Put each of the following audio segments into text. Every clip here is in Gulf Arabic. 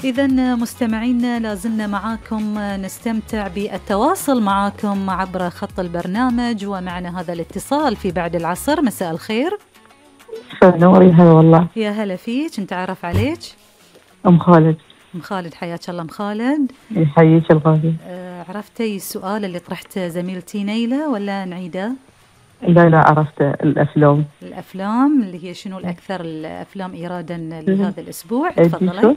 إذن مستمعينا لازلنا معاكم نستمتع بالتواصل معاكم عبر خط البرنامج، ومعنا هذا الاتصال في بعد العصر. مساء الخير. نوري. هلا والله. يا هلا فيك، نتعرف عليك. أم خالد. أم خالد، حياك الله أم خالد. يحييك الغالي. عرفتي السؤال اللي طرحت زميلتي نيلة ولا نعيده؟ لا عرفت. الأفلام اللي هي شنو الأكثر الأفلام إيرادا لهذا الأسبوع؟ تفضلي.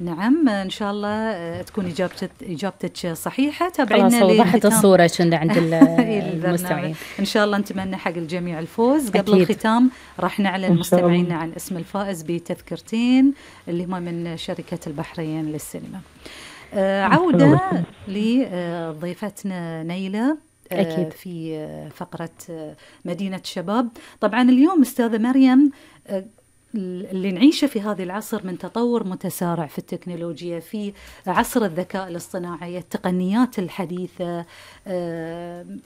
نعم، إن شاء الله تكون إجابتك صحيحة. تابعينا. وضحت الصورة كنا عند المستمعين. إن شاء الله نتمنى حق الجميع الفوز. قبل الختام راح نعلن مستمعينا عن اسم الفائز بتذكرتين اللي هم من شركة البحرين للسينما. عودة لضيفتنا نيلة أكيد. في فقرة مدينة شباب. طبعا اليوم أستاذة مريم، اللي نعيشه في هذا العصر من تطور متسارع في التكنولوجيا، في عصر الذكاء الاصطناعي، التقنيات الحديثة،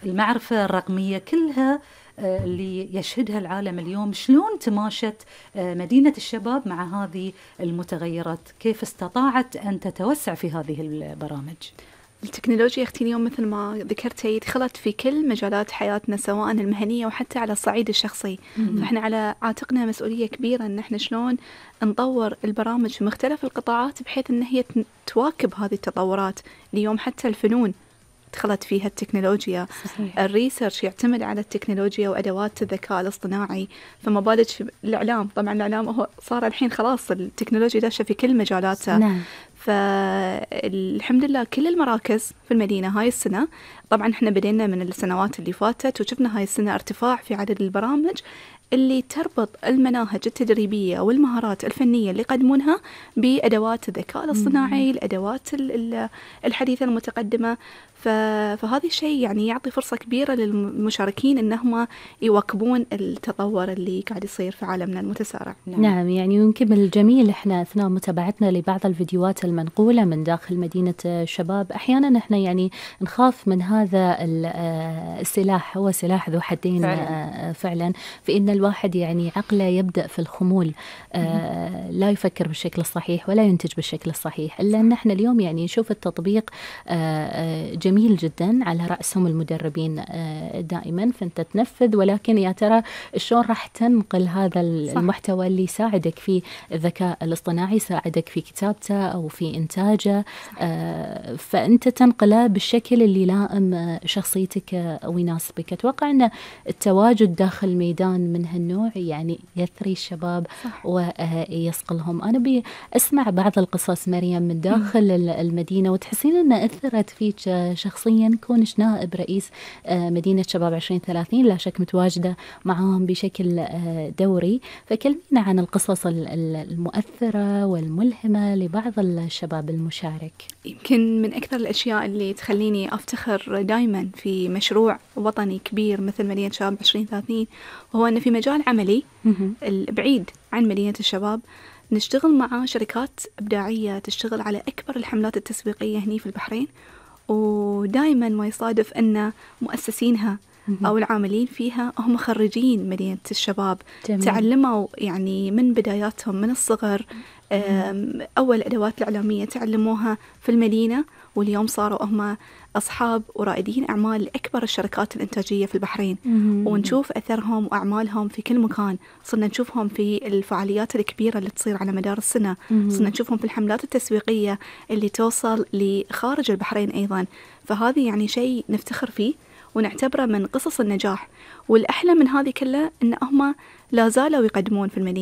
المعرفة الرقمية، كلها اللي يشهدها العالم اليوم. شلون تماشت مدينة الشباب مع هذه المتغيرات؟ كيف استطاعت أن تتوسع في هذه البرامج؟ التكنولوجيا اختي اليوم مثل ما ذكرتي دخلت في كل مجالات حياتنا، سواء المهنية وحتى على الصعيد الشخصي. فإحنا على عاتقنا مسؤولية كبيرة إن إحنا شلون نطور البرامج في مختلف القطاعات بحيث إن هي تواكب هذه التطورات. اليوم حتى الفنون دخلت فيها التكنولوجيا. صحيح. الريسيرش يعتمد على التكنولوجيا وأدوات الذكاء الاصطناعي، فما بالك الإعلام. طبعا الإعلام هو صار الحين خلاص التكنولوجيا داشة في كل مجالاته. نعم. فالحمد لله كل المراكز في المدينة هاي السنة، طبعا احنا بدينا من السنوات اللي فاتت وشفنا هاي السنة ارتفاع في عدد البرامج اللي تربط المناهج التدريبية والمهارات الفنية اللي يقدمونها بأدوات الذكاء الاصطناعي، الأدوات الحديثة المتقدمة. فهذا الشيء يعني يعطي فرصة كبيرة للمشاركين إنهم يواكبون التطور اللي قاعد يصير في عالمنا المتسارع. نعم، يعني يمكن من الجميل إحنا أثناء متابعتنا لبعض الفيديوهات المنقولة من داخل مدينة الشباب، أحيانا إحنا يعني نخاف من هذا السلاح، هو سلاح ذو حدين فعلا، في إن الواحد يعني عقله يبدأ في الخمول، لا يفكر بالشكل الصحيح ولا ينتج بالشكل الصحيح. إلا أن احنا اليوم يعني نشوف التطبيق جميل جدا، على رأسهم المدربين دائما، فأنت تنفذ، ولكن يا ترى شلون راح تنقل هذا المحتوى اللي يساعدك في الذكاء الاصطناعي، يساعدك في كتابته أو في إنتاجه، فأنت تنقله بالشكل اللي يلائم شخصيتك أو يناسبك. أتوقع أن التواجد داخل ميدان من هالنوع يعني يثري الشباب ويصقلهم. أنا بأسمع بعض القصص مريم من داخل المدينة، وتحسين أن أثرت فيك شخصيا كونش نائب رئيس مدينة شباب 2030، لا شك متواجدة معهم بشكل دوري. فكلمينا عن القصص المؤثرة والملهمة لبعض الشباب المشارك. يمكن من أكثر الأشياء اللي تخليني أفتخر دائما في مشروع وطني كبير مثل مدينة شباب 2030 وهو أن في مجال عملي البعيد عن مدينة الشباب نشتغل مع شركات إبداعية تشتغل على أكبر الحملات التسويقية هني في البحرين، ودائما ما يصادف أن مؤسسينها أو العاملين فيها هم خريجين مدينة الشباب. جميل. تعلموا يعني من بداياتهم من الصغر، أول أدوات الإعلامية تعلموها في المدينة، واليوم صاروا هم أصحاب ورائدين أعمال لأكبر الشركات الإنتاجية في البحرين. ونشوف أثرهم وأعمالهم في كل مكان. صرنا نشوفهم في الفعاليات الكبيرة اللي تصير على مدار السنة، صرنا نشوفهم في الحملات التسويقية اللي توصل لخارج البحرين أيضا. فهذه يعني شيء نفتخر فيه ونعتبره من قصص النجاح. والأحلى من هذه كلها إن هم لا زالوا يقدمون في المدينة.